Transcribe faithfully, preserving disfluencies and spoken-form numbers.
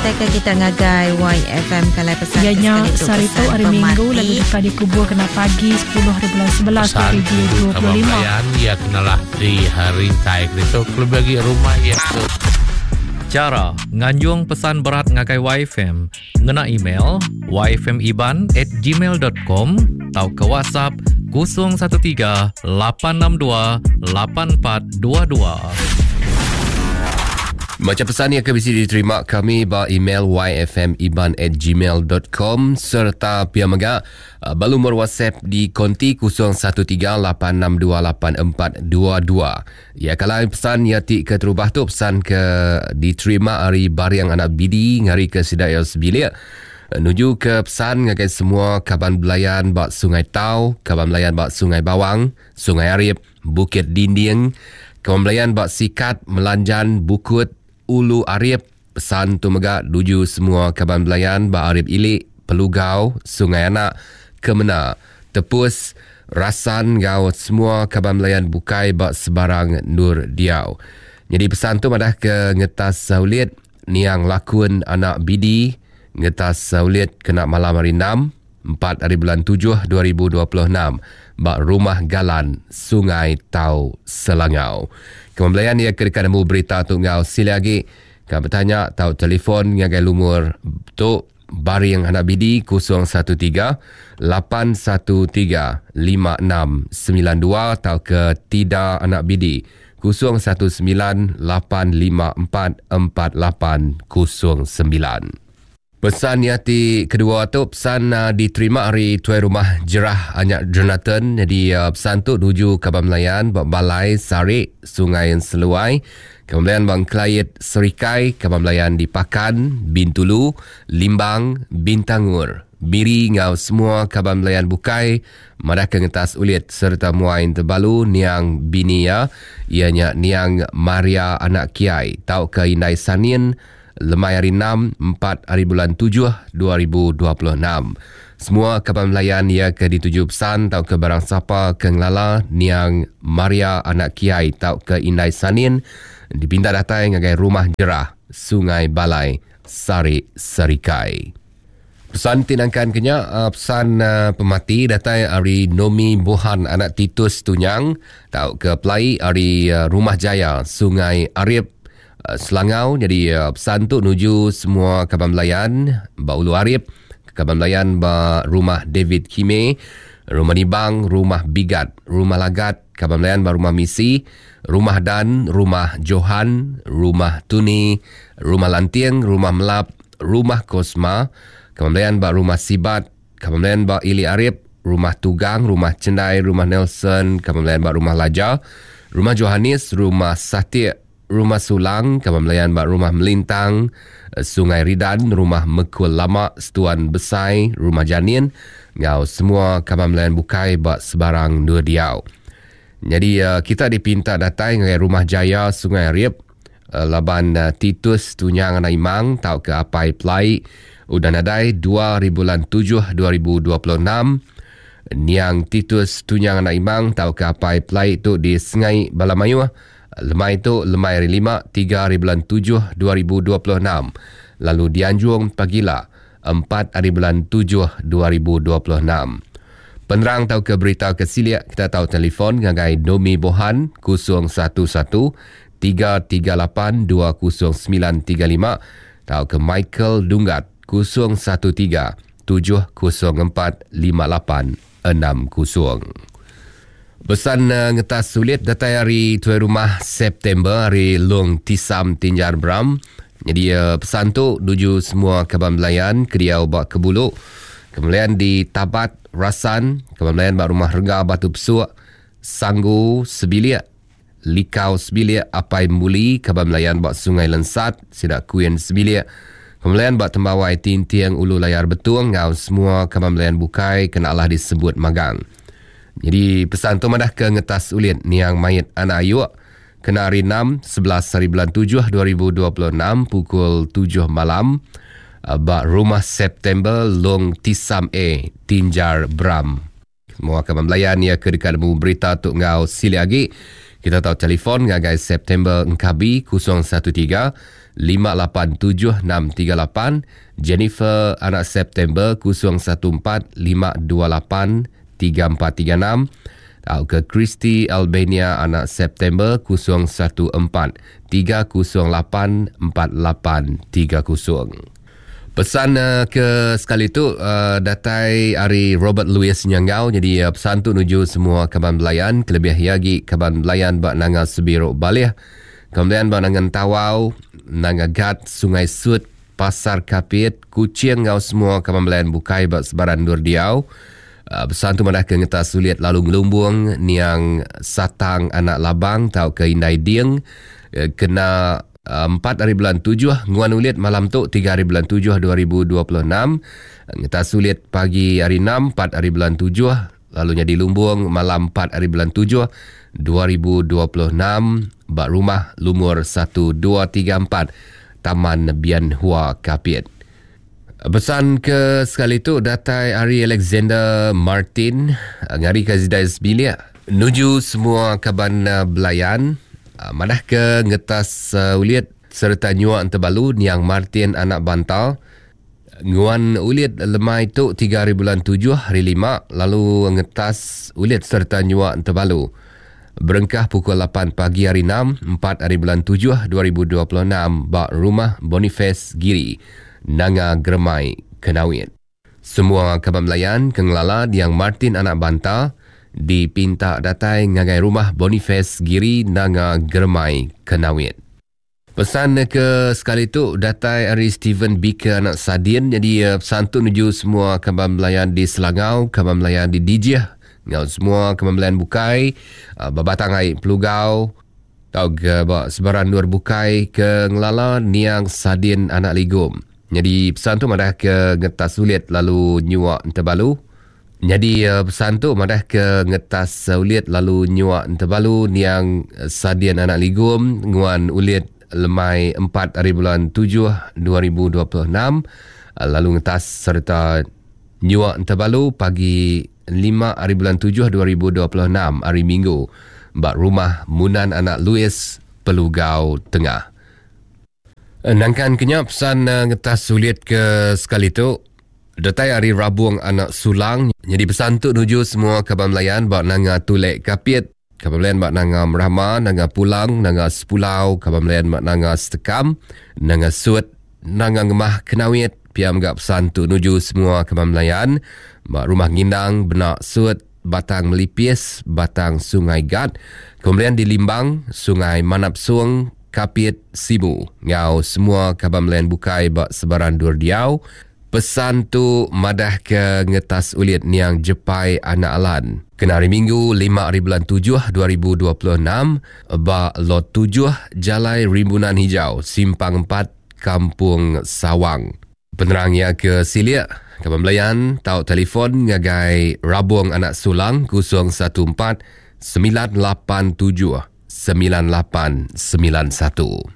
Datai ke kita ngagai Y F M kalai pesan ya nya sehari tu hari Minggu lalu deka dikubur kena pagi sepuluh hari bulan sebelas dua ribu dua puluh lima. Ya kenalah di hari tai itu lebih bagi rumah ya. Cara nganjung pesan berat ngagai Y F M ngena email y f m iban at gmail dot com atau ke WhatsApp kosong satu tiga lapan enam dua lapan empat dua dua. Macam pesan yang akan bisa diterima kami ba email y f m iban at gmail dot com serta pia mega balu nomor WhatsApp di konti kosong satu tiga lapan enam dua lapan empat dua dua. Ya kalau pesan ya ti ke terubah tu pesan ke diterima hari bariang anak bidi ngari ke sidai sebilik nuju ke pesan ngagai semua kaban belayan bak Sungai Tau, kaban belayan bak Sungai Bawang, Sungai Arip, Bukit Dinding, kaban belayan bak Sikat, Melanjan, Bukut, Ulu Arip. Pesan tu mega nuju semua kaban belayan bak Arip Ilik, Pelugau, Sungai Anak, Kemena, Tepus, Rasan gau semua kaban belayan bukai bak sebarang Nur Diau. Jadi pesan tu madah ke ngetas saulit niang lakun anak bidi ngetas saulit kena malam hari enam empat hari bulan tujuh dua ribu dua puluh enam bak Rumah Galan Sungai Tau Selangau. Kemudian ia ke dekat nemu berita tu ngau sila lagi. Kau bertanya tau telefon ngagai lumur tu Baring anak bidi kosong satu tiga lapan satu tiga lima enam sembilan dua atau ke Tida anak bidi kosong satu sembilan lapan lima empat empat lapan kosong sembilan. Pesan yati kedua tu pesan uh, diterima hari tuai rumah Jerah Anyak Jonathan. Jadi uh, pesan tu tuju Kaban Melayan Balai Sarik Sungai Seluai. Kemudian Bang Kelayit Serikai, Kaban Melayan di Pakan, Bintulu, Limbang, Bintangur, Biri ngau semua Kaban Melayan bukai madah ke ngetas ulit serta muain terbalu niang binia ianya niang Maria anak Kiai tau ke Indai Sanin lemai hari enam empat hari bulan tujuh dua ribu dua puluh enam. Semua kaban Melayan ia ke dituju pesan tau ke barang sapa ke ngelala niang Maria anak Kiai tau ke Indai Sanin dipinta datai ngagai Rumah Jerah Sungai Balai Sarik Serikai. Pesan tinangkan kenya pesan pemati datai ari Nomi Bohan anak Titus Tunyang tau ke Pelai ari Rumah Jaya Sungai Arip Selangau. Jadi pesan tu nuju semua kaban Melayan ba Ulu Arip, kaban Melayan ba Rumah David Kime, Rumah Nibang, Rumah Bigat, Rumah Lagat, kaban Melayan ba Rumah Misi, Rumah Dan, Rumah Johan, Rumah Tuni, Rumah Lantiang, Rumah Melap, Rumah Kosma, kaban Melayan ba Rumah Sibat, kaban Melayan ba Ili Arip, Rumah Tugang, Rumah Cendai, Rumah Nelson, kaban Melayan ba Rumah Laja, Rumah Johannes, Rumah Satik, Rumah Sulang, kaban Melayan ba Rumah Melintang, Sungai Ridan, Rumah Mekul Lama, Setuan Besai, Rumah Janin, ngau semua kaban Melayan bukai ba sebarang dua diau. Jadi kita dipinta datai ngagai Rumah Jaya Sungai Arip, laban Titus Tunyang anak Imang tau ke Apai Pelai udah nadai dua hari bulan tujuh dua ribu dua puluh enam. Niang Titus Tunyang anak Imang tau ke Apai Pelai tu di Sengai Balamayuh. Lemai tu lemai hari lima tiga hari bulan tujuh dua ribu dua puluh enam. Lalu dianjung pagila empat hari bulan tujuh dua ribu dua puluh enam. Penerang tau ke berita ke siliak kita tahu telefon ngagai Nomi Bohan kosong satu satu tiga tiga lapan dua kosong sembilan tiga lima tau ke Michael Dunggat kosong satu tiga tujuh kosong empat lima lapan enam kosong. Pesan uh, ngetas sulit datai hari tuai rumah September hari Long Tisam Tinjar Bram. Jadi uh, pesan tu nuju semua kaban Melayan kediau bak Kebuluk, kemudian di Tabat Rasan, kaban Melayan bak Rumah Rengga Batu Pesuk, Sanggu Sebilik, Likau Sebilik, Apai Muli, kaban Melayan bak Sungai Lensat, Sidak Kuin Sebilik, kemudian bak Tembawai Tintiang Ulu Layar Betung ngau semua kaban Melayan bukai kena Allah disebut magang. Jadi pesan tu madah ke ngetas ulit niang mayat anak ayuk kena hari enam sebelas hari bulan tujuh dua ribu dua puluh enam pukul tujuh malam bak Rumah September Long Tisam A Tinjar Bram. Semua kaban Melayan ya ke dekat nemu berita tu ngau sili lagi. Kita tahu telefon ngagai September Engkabi kosong satu tiga lima lapan tujuh enam tiga lapan, Jennifer anak September kosong satu empat lima dua lapan tiga empat tiga enam, atau ke Christy Albania anak September kosong satu empat tiga kosong lapan empat lapan tiga kosong. Pesan uh, ke sekali tu uh, datai hari Robert Louis Nyanggau. Jadi uh, pesan tu nuju semua kaban belayan, kelebih lagi kaban belayan bak Nanga Sebiruk Balih, kemudian bak Nanga Tawau, Nanga Gat, Sungai Sut, Pasar Kapit, Kuching ngau semua kaban belayan bukai bak sebaran dur diau. Uh, pesan tu madah ke ngetas sulit lalu ngelumbung niang Satang anak Labang tau ke Indai Ding uh, kena empat hari bulan tujuh nguan ulit malam tu tiga hari bulan tujuh dua ribu dua puluh enam, ngetas sulit pagi hari enam empat hari bulan tujuh, lalu jadi lumbung malam empat hari bulan tujuh dua ribu dua puluh enam bak rumah lumur satu dua tiga empat Taman Bian Hua Kapit. Pesan ke sekali tu datai hari Alexander Martin ngari ke Zidai Sebilik nuju semua kaban belayan madah ke ngetas uh, ulit serta nyuak entebalu niang Martin anak Bantal nguan ulit lemai tu tiga hari bulan tujuh hari lima, lalu ngetas ulit serta nyuak entebalu berengkah pukul lapan pagi hari enam empat hari bulan tujuh dua ribu dua puluh enam bak rumah Boniface Giri Nanga Germai Kenawit. Semua kaban belayan kengelala niang Martin anak Bantal dipinta datai ngagai rumah Boniface Giri Nanga Germai Kenawit. Pesan ke sekali tu datai hari Stephen Baker anak Sadin. Jadi pesan tu nuju semua kaban belayan di Selangau, kaban belayan di Dijih, ngau semua kaban belayan bukai, Babatang Ai Pelugau, tau ke bak sebaran luar bukai ke ngelala niang Sadin anak Ligum. Jadi pesan tu madah ke ngetas sulit lalu nyuak entebalu. Jadi pesan tu madah ke ngetas ulit lalu nyuak entebalu niang Sadian anak Ligum nguan ulit lemai empat hari bulan tujuh dua ribu dua puluh enam, lalu ngetas serta nyuak entebalu pagi lima hari bulan tujuh dua ribu dua puluh enam hari Minggu bak rumah Munan anak Louis Pelugau Tengah. Nangkan kenyap pesan ngetas ulit ke sekali tu datai hari Rabung anak Sulang. Jadi pesan tu nuju semua kaban belayan bak Nanga Tulek Kapit, kaban belayan bak Nanga Merama, Nanga Pulang, Nanga Sepulau, kaban belayan bak Nanga Setekam, Nanga Sut, Nanga Ngemah Kenawit. Piam gak pesan tu nuju semua kaban belayan bak Rumah Ngindang, Benak Sut, Batang Melipis, Batang Sungai Gat, kemudian di Limbang, Sungai Manap Suang, Kapit, Sibu. Ngau semua kaban belayan bukai bak sebaran dur diau. Pesan tu madah ke ngetas ulit niang Jepai anak Alan. Kena hari Minggu lima hari bulan tujuh dua ribu dua puluh enam ba lot tujuh Jalai Rimbunan Hijau Simpang empat Kampung Sawang. Penerangnya ke Siliak, kaban belayan tau telefon ngagai Rabung anak Sulang kosong satu empat sembilan lapan tujuh sembilan lapan sembilan satu.